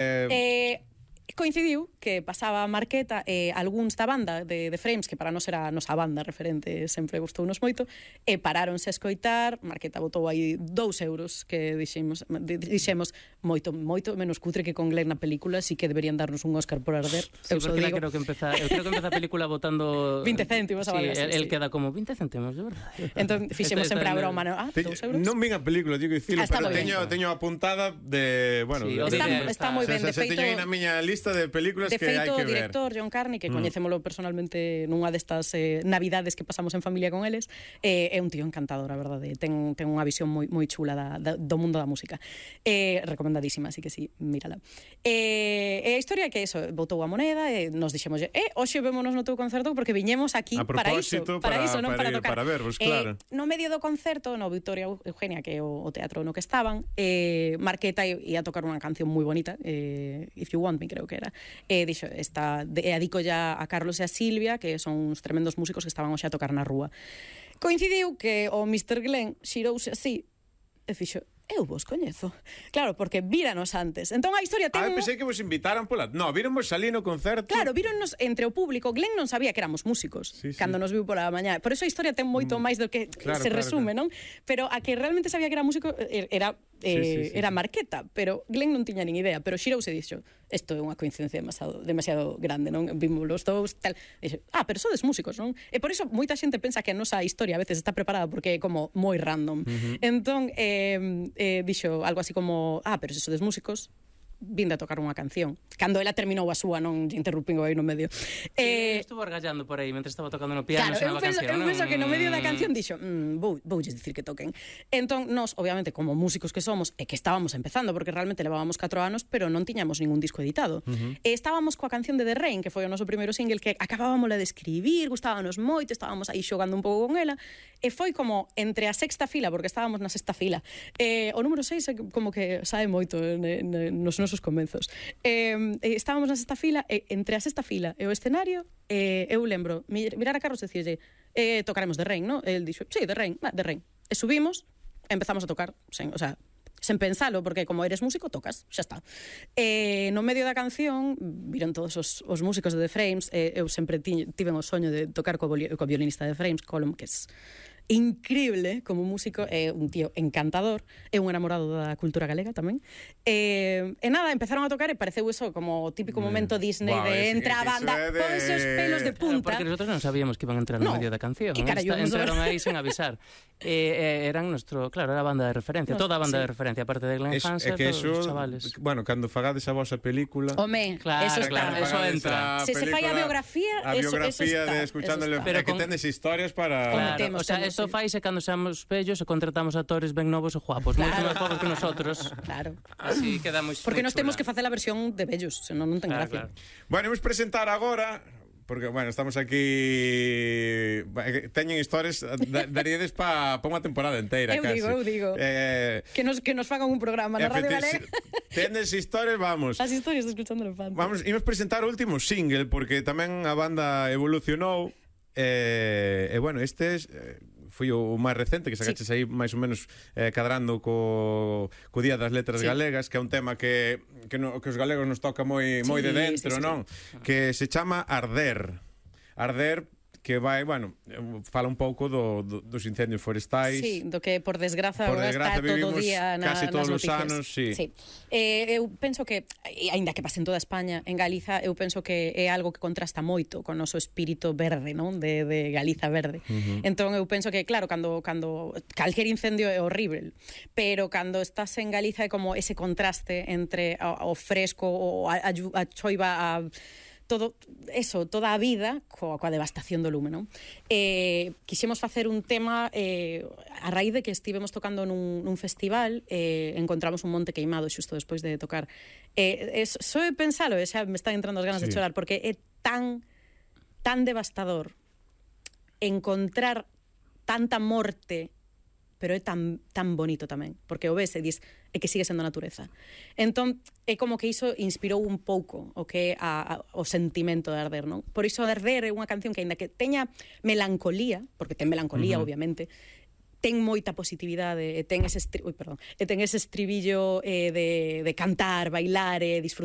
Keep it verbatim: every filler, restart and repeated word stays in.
Eh, coincidiu que pasaba a Marqueta e eh, algúns da banda de, de Frames, que para nós era a nosa banda referente, sempre gustounos moito, e paráronse a escoitar. Marqueta botou aí dous euros, que dixemos, dixemos moito, moito menos cutre que con Glenn na película, así que deberían darnos un Oscar por Arder. Sí, eu porque digo. creo que empeza, eu creo que empeza a película botando vinte céntimos a sí, valesa, el, el sí. queda como vinte céntimos, de verdade. Entón fixemos Esto- sempre a esto- broma, ¿no? Ah, dous euros. Non vin a película, digo dicilo, Ah, está pero moi ben. teño, teño apuntada de, bueno, Sí, de, o Está, de- está moi ben, de se, se feito. teño aí na miña lista de películas De que hai feito, que o ver. director John Carney, que Mm. coñecémolo personalmente nunha destas eh, navidades que pasamos en familia con eles, eh, é un tío encantador, a verdade. Ten, ten unha visión moi, moi chula da, da, do mundo da música. Eh, recomendadísima, así que sí, mírala. Eh, e a historia é que eso, botou a moneda e nos dixemos, eh, hoxe vémonos no teu concerto porque viñemos aquí A para iso, propósito, para, para- iso, non para para ir- tocar. para vervos, claro. Eh, no medio do concerto, no Victoria Eugenia, que é o, o teatro no que estaban, eh, Marqueta ia tocar unha canción moi bonita, eh, If You Want Me, creo que era. E dixo, esta, de, e adico ya a Carlos e a Silvia, que son uns tremendos músicos que estaban hoxe a tocar na rúa. Coincidiu que o mister Glenn xirouse así e fixo, eu vos coñezo. Claro, porque víranos antes. Entón a historia ten... Ah, eu pensei que vos invitaran pola... No, víronvos salir no concerto. Claro, víronnos entre o público. Glenn non sabía que éramos músicos Sí, sí. cando nos viu pola mañá. Por eso a historia ten moito máis do que Claro, se claro, resume, claro. non? Pero a que realmente sabía que era músico eh, era eh, Sí, sí, sí, era sí. Marqueta, pero Glenn non tiña nin idea, pero xirouse e dixo, isto é unha coincidencia demasiado, demasiado grande, non? Vimos los dous, tal. E dixo, ah, pero sodes músicos, non? E por iso moita xente pensa que a nosa historia a veces está preparada porque é como moi random. Uh-huh. Entón, eh, eh, dixo algo así como, ah, pero se sodes músicos, vinde a tocar unha canción. Cando ela terminou a súa, non interrumpingo aí no medio. Eh, Eh, estuvo argallando por aí mentre estaba tocando no piano, Claro, eu sonaba a penso, canción, eu penso non? que no medio da canción dixo, mmm, vou, voulles dicir que toquen. Entón, nós, obviamente, como músicos que somos, e que estábamos empezando, porque realmente levábamos catro anos, pero non tiñamos ningún disco editado. Uh-huh. E estábamos coa canción de The Rain, que foi o noso primeiro single, que acabábamos de escribir, gustábanos moito, estábamos aí xogando un pouco con ela, e foi como entre a sexta fila, porque estábamos na sexta fila, e o número seis é como que sae moito ne, ne, nos nosos comenzos. Eh, estábamos na sexta fila, e entre a sexta fila e o escenario, eh, eu lembro mirar a Carlos e dicirlle, eh, tocaremos The Rain, ¿no? El dixo, sí, The Rain, va, The Rain. E subimos, e empezamos a tocar, sen, o sea, sen pensalo, porque como eres músico, tocas, xa está. E no medio da canción, viron todos os, os músicos de The Frames, e eu sempre ti, tiven o soño de tocar co, co violinista de The Frames, Colm, que es increíble como músico, é un tío encantador, é un enamorado da cultura galega tamén. E, e nada, empezaron a tocar e pareceu eso como o típico momento Disney Wow, de es- entra a banda, eso é de- ponse os pelos de Claro, punta. porque nosotros non sabíamos que iban a entrar no, No, medio da canción. que carallo, Esta- nos- entraron aí sen avisar. E, e eran nuestro, claro, era a banda de referencia, No, toda a banda sí. de referencia, aparte de Glenn Es, é Hansard, que todos eso, os chavales. bueno, cando fagades a vosa película... Home, Claro, eso está. claro, eso fagades entra. a Se se fai a película, biografía, a eso- eso biografía está, de escuchándole, eso está. pero Pero que con- tendes historias para... Claro, temos, o sea, temos, eso sí. faise cando seamos vellos e contratamos actores ben novos e guapos, moito Claro. máis guapos que nosotros. Claro. Así quedamos Porque moi nos temos chula. que facer a versión de vellos, senón non ten Claro, gracia. claro. Bueno, imos presentar agora, porque, bueno, estamos aquí... Teñen historias, da- daríades para pa unha temporada inteira, Eu casi. digo, eu digo. Eh, Que nos que nos fagan un programa na Radio efecti- Galega. Tendes historias, vamos. As historias de escuchando o elefante. Vamos, imos presentar o último single, porque tamén a banda evolucionou. E, e bueno, este es, eh, foi o, o máis recente que sacaches sí. aí máis ou menos eh, cadrando co, co Día das Letras Sí. Galegas, que é un tema que, que, no, que os galegos nos toca moi, Sí, moi de dentro, sí, sí, non? Que se chama Arder. Arder, que vai, bueno, fala un pouco do, do, dos incendios forestais. Sí, do que por desgraza, Por agora desgraza está todo o vivimos día na, casi todos nas os noticias. anos, sí. sí. Eh, eu penso que, aínda que pase en toda España, en Galiza, eu penso que é algo que contrasta moito con o noso espírito verde, non? De, de Galiza verde. Uh-huh. Entón eu penso que, claro, cando, cando calquer incendio é horrible, pero cando estás en Galiza é como ese contraste entre o, o fresco, o a, a, a choiva, a todo eso, toda a vida coa, coa devastación do lume, non? Eh, quixemos facer un tema eh, a raíz de que estivemos tocando nun, nun festival, eh, encontramos un monte queimado xusto despois de tocar. Eh, es, só de pensalo, e xa me están entrando as ganas Sí. de chorar, porque é tan tan devastador encontrar tanta morte, pero é tan, tan bonito tamén, porque o ves e dis, é que sigue sendo natureza. Entón, é como que iso inspirou un pouco o que é a, a, o sentimento de Arder, non? Por iso Arder é unha canción que, aínda que teña melancolía, porque ten melancolía, uh-huh. obviamente, ten moita positividade e ten ese, estri... Ui, perdón, e ten ese estribillo eh, de, de cantar, bailar e disfrutar